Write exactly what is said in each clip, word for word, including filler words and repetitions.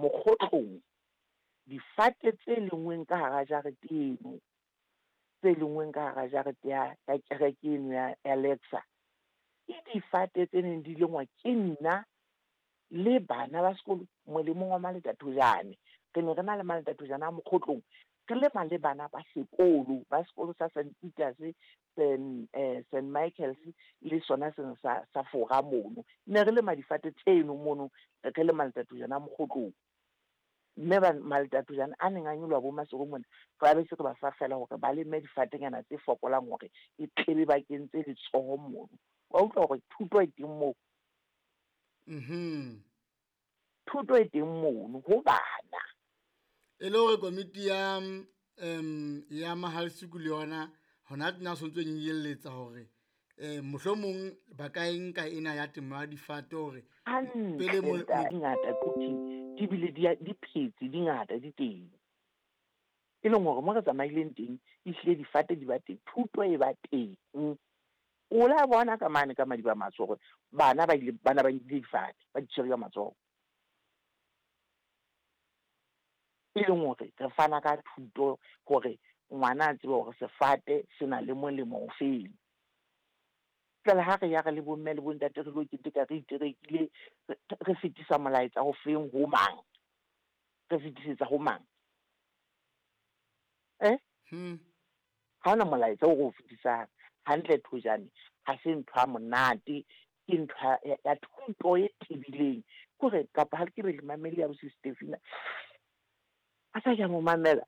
Mokgotlong difate tse lengweng ka hara jarete eno, tse lengweng ka hara jarete ya ya kereke eno ya ya Lexa, ke difate tse neng di lengwa ke nna le bana ba sekolo molemong wa Maletathojane. Re ne re na le Maletathojane a Mokgotlong, re lema le bana ba sekolo, ba sekolo sa Saint Peters, Saint eh, Saint Michaels le sona sena sa sa Fora mono. Ne re lema difate tseno mono, re le Maletathojane a Mokgotlong. Mme ba Maletathojane a neng a nyoloha bo Maseru mona, re ba be se re ba fa feela hore ba leme difatenyana tse fokolang hore e tlebe ba kentse letsoho mono. Wa utlwa hore thuto e teng moo? Mhm. Thuto e teng mono ho bana. E le hore komiti ya um ya Mahalsuku le yona hona tjena o sontso nyenyelletsa hore eh mohlomong ba ka e nka ena ya temo ya difate hore pele Hantle mo di ngata Quthing, di bile di di phetse, di ngata di teng. E leng hore mo re tsamaileng teng, ehlile difate di ba teng, thuto e ba teng. O la bona ka mane ka Madiba Matsho hore bana ba ile bana ba nkile difate, ba di tshwere ka matsoho. E leng hore re fana ka thuto hore ngwana a tsebe hore sefate se na le molemo o feng. Jwale ha re ya re le bomme le bontate re lo keteka re iterekile, re fetisa molaetsa o feng ho mang? Re fetisetsa ho mang? Eh? Hmm. Ha hona molaetsa o re o fetisang. Hantle Thojane, ha se ntho ya monate, ke ntho ya ya thuto e tebileng. Ke hore kapa ha ke re le mamele ya bo Stefina, a sa ke a mo mamela.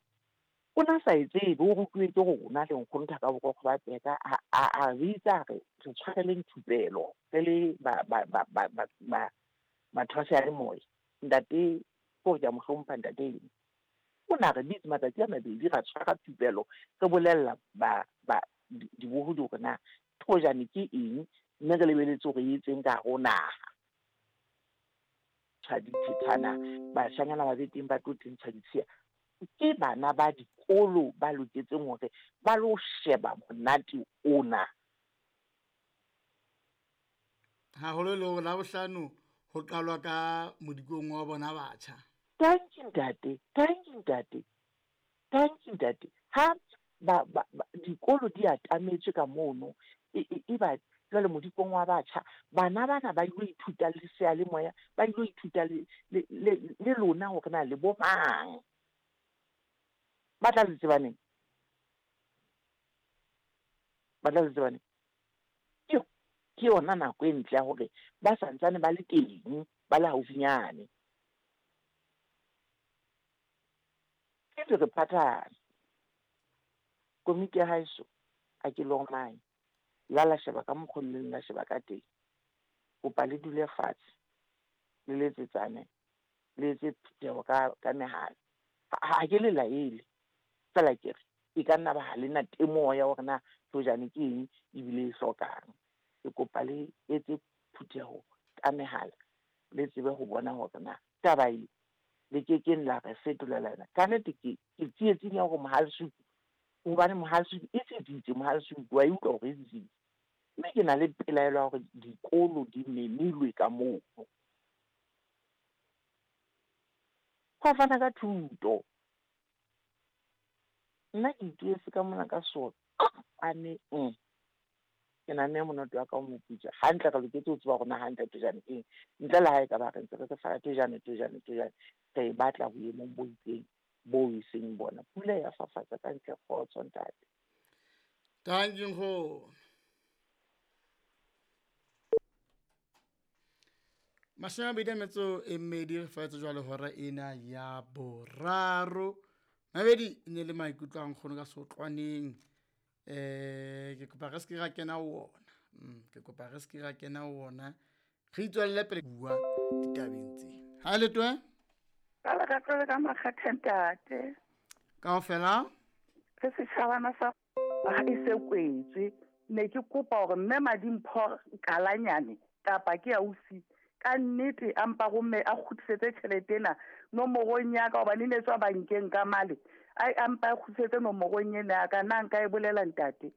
O na sa e tsebe, o rutuwe ke rona le nkgono Thaka Borokgo ba Peka. A a a bitsa re re tshwareleng thupelo re le ba ba ba ba ba ba batho ba seyalemoya. Ntate ke hore ke a mo hlompha ntate eno. O na re bitse matsatsi a mabedi ra tshwara thupelo, re bolella ba ba dibohodi hore na Thojane ke eng, mme re lebeletse hore e etseng ka hare ho naha. Tshwa dithethana, bashanyana ba be teng ba tlo tentshwa ditshiya. Ke bana ba dikolo ba loketseng hore ba lo sheba monate ona. Haholo le hore Labohlano ho qalwa ka modikong wa bona batjha. Thank you ntate, thank you ntate, thank you ntate. Ha ba ba dikolo di atametswe ka mono, e e ba jwale modikong wa batjha, bana bana ba ilo ithuta le seyalemoya, ba ilo ithuta le le le le lona hore na le bo mang. Ba tla le tseba neng? Ba tla le tseba neng? Ke ke yona nako e ntle ya hore ba santsane ba le teng, ba le haufinyane. Ke re phathahane. Komiti ya haeso ha ke lormae, la la sheba ka mokgo le leng la sheba ka teng. Kopa le dule fatshe, le letsetsane, le etse phutheho ka ka mehala. Ha ke le laele, feela ke re e ka nna ba ha lena temoho ya hore na Thojane ke eng ebile e hlokang. Ke kopa le etse phutheho ka mehala, le tsebe ho bona hore na taba e le kekeng la re fetolela yona. Ka nnete ke ke tsietsing ya hore Mohalsuku, hobane Mohalsuku e tsitsitse, Mohalsuku wa e utlwa hore e tsitsitse. Mme ke na le pelaelo ya hore dikolo di memilwe ka mono. Ho fana ka thuto. Nna ke ituetse ka mona ka soqane. Ke nahanne monate wa ka o moputswa. Hantle re loketse ho tseba hore na hantle Thojane keng. Ntle le ha e ka ba re ntse re re fara Thojane, Thojane, Thojane, re e batla boemong bo itseng bo e seng bona. Pula ya fafatsa ka ntle, kgotso ntate. Thank you nkgono. Mashome a mabedi a metso e mmedi re faetse jwale hora ena ya boraro. Mabedi e ne le maikutlo a nkgono ka sotlwaneng. Eh ke kopa re se ke ra kena ho ona. Mm, ke kopa re se ke ra kena ho ona. Re itswelle pele bua ditabeng tsena. Ha le twe? Ka la ka tlole ka makgethe ntate. Kaofela? Re setjhabana sa ha e se kwetswe. Ne ke kopa hore mme Madimpho Kalanyane kapa ke ausi ka nnete a mpa romme a kgutlisetse tjhelete ena nomorong ya ka, hobane e ne tswa bankeng ka male. Ai, a mpa a kgutlisetse nomorong ena ya ka. Na nka e bolela ntate?